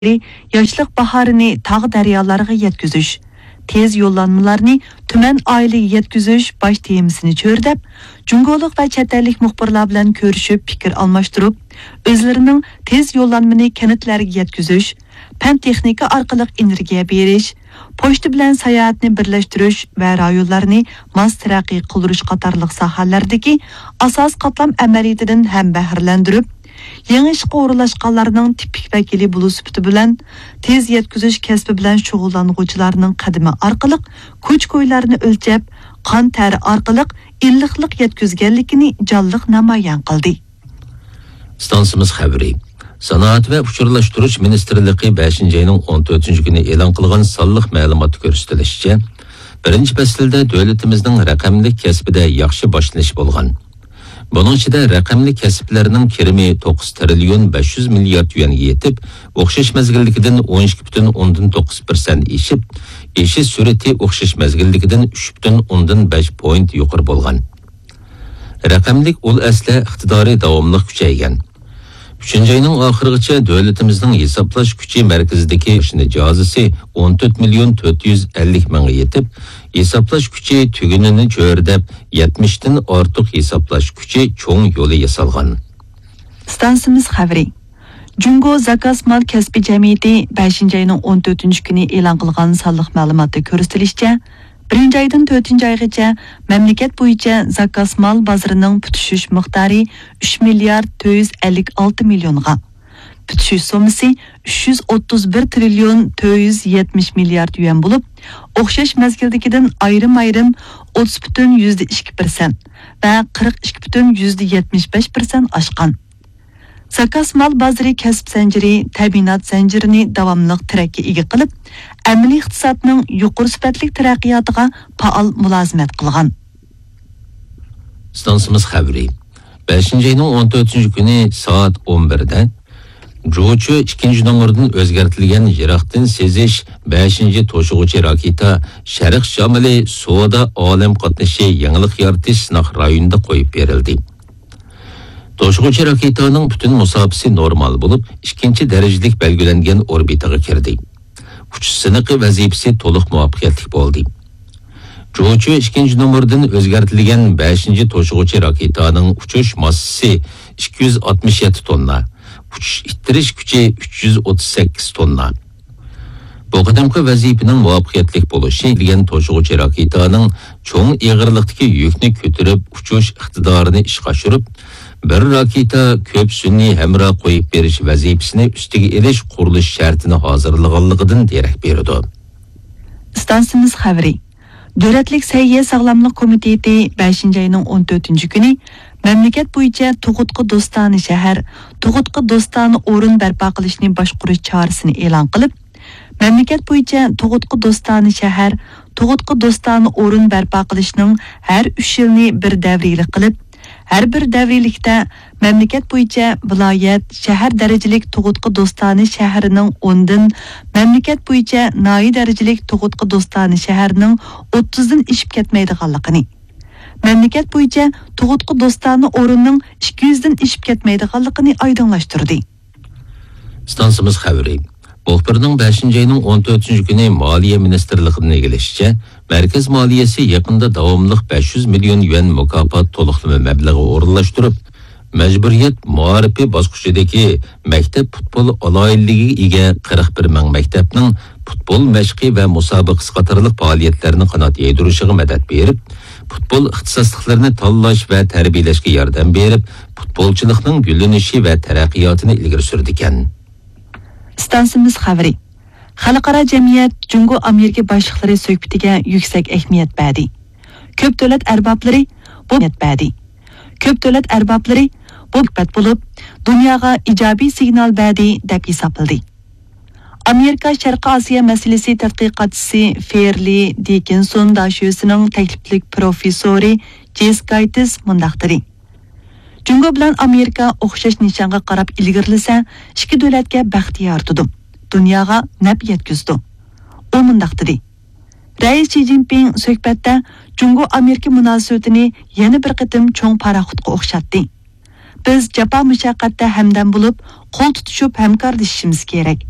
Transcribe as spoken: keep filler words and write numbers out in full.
ياشلىق باھارىنى تاغ-دەريالارغا يەتكۈزۈش، تېز يوللانمىلارنى تۈمەن ئائىلىگە يەتكۈزۈش باش تېمىسىنى چۆرىدەپ، جۇڭگولۇق ۋە چەت ئەللىك مۇخبىرلار بىلەن كۆرۈشۈپ پىكىر ئالماشتۇرۇپ، ئۆزلىرىنىڭ تېز يوللانمىنى كەنتلەرگە يەتكۈزۈش، پەن-تېخنىكا ئارقىلىق ئېنېرگىيە بېرىش، پوچتا بىلەن ساياھەتنى بىرلەشتۈرۈش ۋە رايونلارنى ماس تەرەققىي قىلدۇرۇش قاتارلىق ساھەلەردىكى ئاساسىي قاتلام ئەمەلىيىتىدىن ھەمبەھرىلەندۈرۈپ، يېڭى ئىشقا ئورۇنلاشقانلارنىڭ تىپىك ۋەكىلى بولۇش سۈپىتى بىلەن، تېز يەتكۈزۈش كەسپى بىلەن شۇغۇللانغۇچىلارنىڭ قەدىمى ئارقىلىق كوچا-كويلارنى ئۆلچەپ، قان تەرى ئارقىلىق ئىللىقلىق يەتكۈزگەنلىكىنى جانلىق نامايان قىلدى. ئىستانسىمىز خەۋىرى. سانائەت ۋە ئۇچۇرلاشتۇرۇش مىنىستىرلىقى بەشىنچى ئاينىڭ ئون تۆتىنچى كۈنى ئېلان قىلغان سانلىق مەلۇماتتا كۆرسىتىلىشىچە، بىرىنچى پەسىلدە دۆلىتىمىزنىڭ رەقەملىك كەسپىدە ياخشى باشلىنىش بولغان. بۇنىڭ ئىچىدە رەقەملىك كەسىپلەرنىڭ كىرىمى توققۇز تىرىليون بەش يۈز مىليارد يۈەنگە يېتىپ، ئوخشاش مەزگىلدىكىدىن ئون ئىككى پۈتۈن ئوندىن توققۇز پىرسەنت ئېشىپ، ئېشىش سۈرئىتى ئوخشاش مەزگىلدىكىدىن ئۈچ پۈتۈن ئوندىن بەش پوينت يۇقىرى بولغان. رەقەملىك ئۇل ئەسلىھە ئىقتىدارى داۋاملىق كۈچەيگەن. ئۈچىنچى ئاينىڭ ئاخىرىغىچە دۆلىتىمىزنىڭ ھېسابلاش كۈچى مەركىزىدىكى ماشىنا جازىسى ئون تۆت مىليون تۆت يۈز ئەللىك مىڭغا يېتىپ، ھېسابلاش كۈچى تۈگۈنىنى چۆرىدەپ، يەتمىشتىن ئارتۇق ھېسابلاش كۈچى چوڭ يولى ياسالغان. ئىستانسىمىز خەۋىرى. جۇڭگو زاكاز مال كەسپى جەمئىيىتى بەشىنچى ئاينىڭ ئون تۆتىنچى كۈنى ئېلان قىلغان سانلىق مەلۇماتتا كۆرسىتىلىشىچە، بىرىنچى ئايدىن تۆتىنچى ئايغىچە مەملىكەت بويىچە زاكاز مال بازىرىنىڭ پۈتۈشۈش مىقدارى ئۈچ مىليارد تۆت يۈز ئەللىك ئالتە مىليونغا، پۈتۈشۈش سوممىسى ئۈچ يۈز ئوتتۇز بىر تىرىليون تۆت يۈز يەتمىش مىليارد يۈەن بولۇپ، ئوخشاش مەزگىلدىكىدىن ئايرىم-ئايرىم ئوتتۇز پۈتۈن يۈزدە ئىككى پىرسەنت ۋە قىرىق ئىككى پۈتۈن يۈزدە يەتمىش بەش پىرسەنت ئاشقان. زاكاز مال بازىرى كەسىپ زەنجىرى، تەمىنات زەنجىرىنى داۋاملىق تىرەككە ئىگە قىلىپ، ئەمەلىي ئىقتىسادنىڭ يۇقىرى سۈپەتلىك تەرەققىياتىغا پائال مۇلازىمەت قىلغان. ئىستانسىمىز خەۋىرى. بەشىنچى ئاينىڭ ئون تۆتىنچى كۈنى سائەت ئون بىردە جۇچۈ ئىككىنچى نومۇردىن ئۆزگەرتىلگەن يىراقتىن سېزىش بەشىنچى توشۇغۇچى راكېتا شەرق شامىلى سودا ئالەم قاتنىشى يېڭىلىق يارىتىش سىناق رايونىدا قويۇپ بېرىلدى. توشۇغۇچى راكېتانىڭ پۈتۈن مۇساپىسى نورمال بولۇپ، ئىككىنچى دەرىجىلىك بەلگىلەنگەن ئوربىتىغا كىردى. ئۇچۇش سىنىقى ۋەزىپىسى تولۇق مۇۋەپپەقىيەتلىك بولدى. جۇچۈ ئىككىنچى نومۇردىن ئۆزگەرتىلگەن بەشىنچى توشۇغۇچى راكېتانىڭ ئۇچۇش ماسسىسى ئىككى يۈز ئاتمىش يەتتە توننا، ئۇچۇش ئىتتىرىش كۈچى ئۈچ يۈز ئوتتۇز سەككىز توننا. بۇ قېتىمقى ۋەزىپىنىڭ مۇۋەپپەقىيەتلىك بولۇشى دېگەن توشۇغۇچى راكېتانىڭ چوڭ ئېغىرلىقتىكى يۈكنى كۆتۈرۈپ ئۇچۇش ئىقتىدارىنى ئىشقا ئاشۇرۇپ، بىر راكېتا كۆپ سۈنئىي ھەمراھ قويۇپ بېرىش ۋەزىپىسىنى ئۈستىگە ئېلىش قۇرۇلۇش شەرتىنى ھازىرلىغانلىقىدىن دېرەك بېرىدۇ. ئىستانسىمىز خەۋىرى. دۆلەتلىك سەھىيە ساغلاملىق كومىتېتى بەشىنچى ئاينىڭ ئون تۆتىنچى كۈنى مەملىكەت بويىچە تۇغۇتقا دوستانە شەھەر، تۇغۇتقا دوستانە ئورۇن بەرپا قىلىشنى باشقۇرۇش چارىسىنى ئېلان قىلىپ، مەملىكەت بويىچە تۇغۇتقا دوستانە شەھەر، تۇغۇتقا دوستانە ئورۇن بەرپا قىلىشنىڭ ھەر ئۈچ يىلنى بىر دەۋرىيلىك قىلىپ، ھەر بىر دەۋرىيلىكتە مەملىكەت بويىچە ۋىلايەت، شەھەر دەرىجىلىك تۇغۇتقا دوستانە شەھىرىنىڭ ئوندىن، مەملىكەت بويىچە ناھىيە دەرىجىلىك تۇغۇتقا دوستانە شەھەرنىڭ ئوتتۇزدىن ئېشىپ كەتمەيدىغانلىقىنى، مەملىكەت بويىچە تۇغۇتقا دوستانە ئورۇننىڭ ئىككى يۈزدىن ئېشىپ كەتمەيدىغانلىقىنى ئايدىڭلاشتۇردى. ئىستانسىمىز خەۋىرى. مۇخبىرنىڭ بەشىنچى ئاينىڭ ئون تۆتىنچى كۈنى مالىيە مىنىستىرلىقىدىن ئىگىلىشىچە، مەركەز مالىيەسى يېقىندا داۋاملىق بەش يۈز مىليون يۈەن مۇكاپات تولۇقلىما مەبلىغى ئورۇنلاشتۇرۇپ، مەجبۇرىيەت مائارىپى باسقۇچىدىكى مەكتەپ پۇتبول ئالاھىدىلىكىگە ئىگە قىرىق بىر مىڭ مەكتەپنىڭ پۇتبول مەشقى ۋە مۇسابىقىسى قاتارلىق پائالىيەتلەرنى قانات يايدۇرۇشىغا مەدەت بېرىپ، پۇتبول ئىختىساسلىقلىرىنى تاللاش ۋە تەربىيەلەشكە ياردەم بېرىپ، پۇتبولچىلىقنىڭ گۈللىنىشى ۋە تەرەققىياتىنى ئىلگىرى سۈرىدىكەن. ئىستانسىمىز خەۋىرى. خەلقئارا جەمئىيەت جۇڭگو ئامېرىكا باشلىقلىرى سۆھبىتىگە يۈكسەك ئەھمىيەت بەردى. كۆپ دۆلەت ئەربابلىرى بۇ ئەھمىيەت بەردى. كۆپ دۆلەت ئەربابلىرى بۇ سۆھبەت بولۇپ، دۇنياغا ئىجابىي سىگنال بەردى، دەپ ھېسابلىدى. ئامېرىكا شەرقىي ئاسىيا مەسىلىسى تەتقىقاتچىسى فېرلى دىكىنسون داشۆسىنىڭ تەكلىپلىك پروفېسسورى جېس گايتس مۇنداق دېدى: جۇڭگو بىلەن ئامېرىكا ئوخشاش نىشانغا قاراپ ئىلگىرىلىسە، ئىككى دۆلەتكە بەخت يارىتىدۇ، دۇنياغا نەپ يەتكۈزىدۇ. ئۇ مۇنداق دېدى: رەئىس شى جىنپىڭ سۆھبەتتە جۇڭگو ئامېرىكا مۇناسىۋىتىنى يەنە بىر قېتىم چوڭ پاراخوتقا ئوخشاتتى. بىز جاپا مۇشەققەتتە ھەمدەم بولۇپ، قول تۇتۇشۇپ ھەمكارلىشىشىمىز كېرەك.